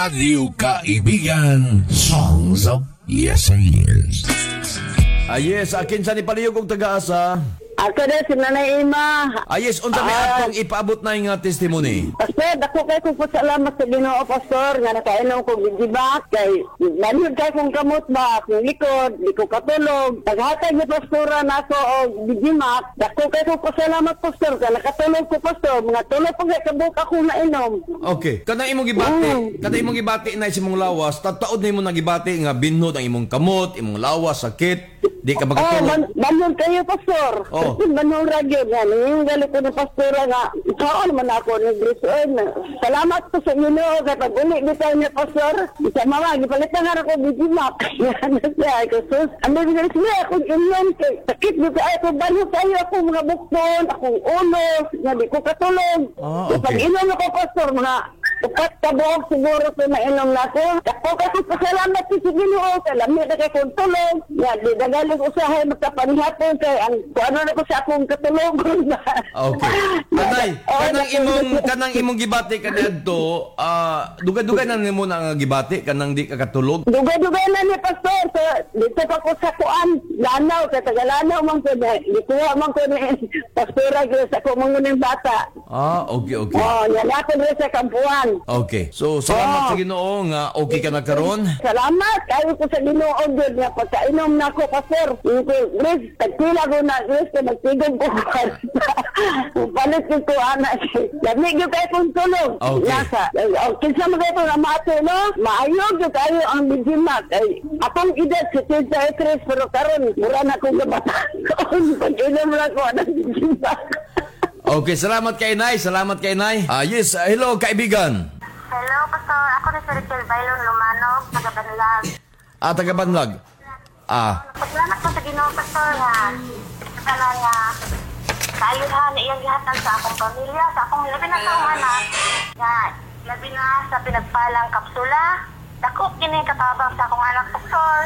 Radyo Kaibigan, Songs of Yesteryears. Ah, yes, kinsa ni, palihog og taga-asa? Ako na si Nanay Ima. Ah, yes, unsa may atong ipaabot na nga testimony? Pastor, dako kay kong pasalamat sa Ginoo, Pastor, nga nakainom ko gigibat kay manhid kay kong kamot ba, akong likod, di ko katulog. Paghatag ni Pastora nako og gigimat, dako kay kong pasalamat, Pastor, kay nakatulog ko, Pastor, mga tulog pa kay kabuk ako nainom. Okay. Kanang imong gibati, kanang imong gibati na sa imong lawas, tataod nimo na gibati nga binhod ang imong kamot, imong lawas, sakit, di ka Oh, makatulog. Manhid kayo, Pastor. Oh. Manhid ra gyud nga ning gali ko ni Pastora nga kaon man ako ni Grace. Salamat ko sa Ginoo kay pag uli bitaw niya, Pastor. Sa mama gipalitan nga ko gigimak. Ano siya ko sus. Ano bisan siya akong inyon kay sakit bitaw ay ko, banhod kayo ako mga bukton, akong ulo, nga di ko katulog. Pag inom ako, Pastor, mga 4 ka buok siguro ko nainom na ako. Dako kay ko pasalamat sa Ginoo kay lami na kay kong tulog. Nga di dagaling usahay magkapanihapon kay ang kuano na ko sa akong katulogon ba. Okay. Anay, Oh, kanang imong kanang imong gibati kaniadto, dugay-dugay na nimo na nga gibati kanang di ka katulog? Dugay-dugay na ni, Pastor. So, dito pa ko sa kuan, Lanao, kay taga Lanao man ko na. Gikuha man ko ni Pastora gyud sa akong manguning bata. Ah, okay. Oh, yan ako diri sa kampuan. Okay. So, salamat Oh. sa Ginoo nga okay ka na karon. Salamat kayo ko sa Ginoo gyud nga pagkainom na ako, Pastor. Yung ko, Grace, tagpila ko na, Grace, kay magtigom ko. Palit ko ko, ana. Lami gyud kayo kong tulog. Nasa. Oh, kinsa man kayo nga maato, no? Maayo gyud kayo ang bijimat. Ay, akong edad 73 pero karon mura na akong kabataan. Pag-inom na ko ang bijimat. Okay, salamat kay Nay, salamat kay Nay. Ah, yes, hello kaibigan. Hello, Pastor. Ako na si Rachel Bailon Lumanog, taga Banlag. Ah, taga Banlag. Ah, Pasalamat ko sa Ginoo, Pastor, ha. Sana nga, kaayuhan na iyang gihatag sa akong pamilya, sa akong labi na sa akong anak. Nga, labi na sa pinagpalang kapsula. Dako kini katabang sa akong anak, Pastor.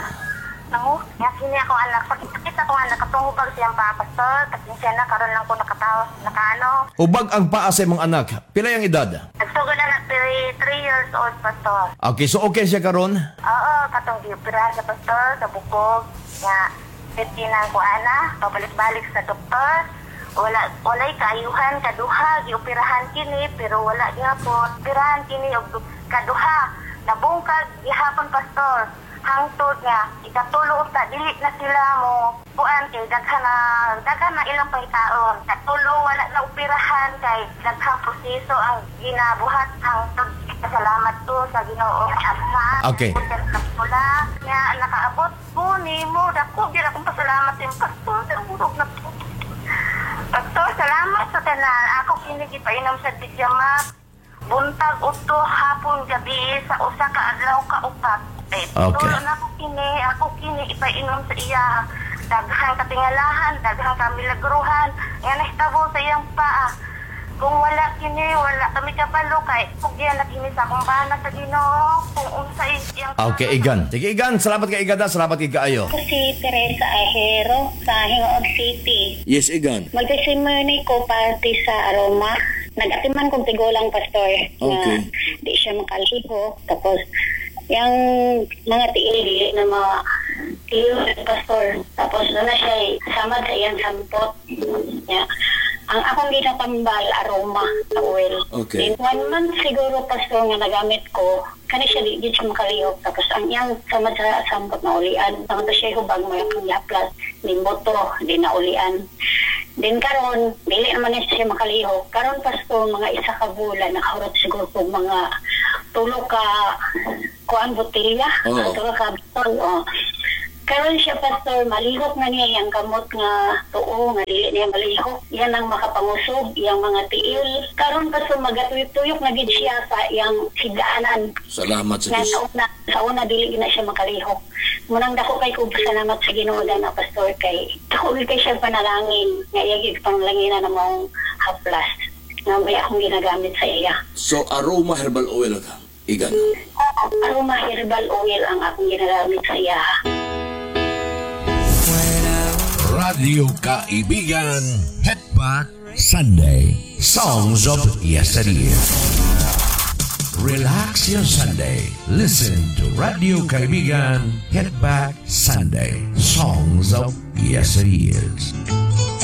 Nangu, nga kini akong anak. Sakit akong anak, katong hubag siyang paa, Pastor. Pasensya na, karon lang ko nakatawas, nakaano. Hubag ang paa sa imong anak. Pila yung edad? Nagsugod na 3 years old, Pastor. Okay, so okay siya karon? Oo, katong gioperahan sa pastor, sa bukog, nga, na ko ana, pabalik-balik sa doktor. Wala, walay kaayuhan, kaduha, gioperahan kini, pero wala gihapon. Operahan kini, og kaduha, nabungkag, gihapon, Pastor. Hangtod nga, ikatulo unta, dili na sila mo, kuan kay daghan na ilang pangitaon. Katulo, wala na operahan kay daghang proseso ang ginabuhat hangtod. Salamat to sa Ginoo. Na, kapsula nga nakaabot ko nimo, dako gyud akong pasalamat sa imong, Pastor, sa urog na po. Pastor, salamat sa tanan. Ako kini gipainom sa Dijamak buntag, udto, hapon, gabi sa usa ka adlaw ka upat. Eh, tulo na ako kini, ako kini ipainom sa iya. Daghang katingalahan, daghang kamilagruhan nga nahitabo sa iyang paa. Kung wala kini, wala kami kabalo kay pugyan na kini sa akong bana sa Ginoo kung unsa iyang Okay, Igan. Sige, Igan. Salamat kay Igan. Salamat kay kaayo. Ako si Teresa Ahero sa Gingoog City. Yes, Igan. Mag-testimony ko parte sa aroma. Nag-atiman kong tigulang, Pastor, nga di siya makalihok. Tapos, yung mga tiil dili na mga tiil, Pastor. Tapos, doon na siya samad sa iyang sampot. Yeah. Ang akong ginatambal, aroma oil. Then, one month siguro, Pastor, nga nagamit ko, kani siya di siya makalihok. Tapos, ang iyang samad sa sampot na ulian. Tapos siya hubag mo yung yaplas, din boto, di na ulian. Then karon dili naman na siya makalihok. Karon, Pastor, mga isa ka bulan, nakahurot siguro kog mga tulo ka kuan botelya, tulo ka botol. Oh. Karon siya, Pastor, malihok na niya yung kamot nga tuo, nga dili niya malihok. Yan ang makapangusog, yung mga tiil. Karon, Pastor, magatuyok-tuyok na gid siya sa iyang higaanan. Salamat sa Nga Diyos. sa una dili na siya makalihok. Munang dako kay kog salamat sa Ginoo na, Pastor, kay dako gid kay siya panalangin nga iya gid panglanginan na maong haplas nga may akong ginagamit sa iya. So, aroma herbal oil ka, Igan. Oo, aroma herbal oil ang akong ginagamit sa iya. Radyo Kaibigan, Headback Sunday. Songs of Yesteryear. Relax your Sunday. Listen to Radyo Kaibigan Hit Back Sunday. Songs of Yesteryears.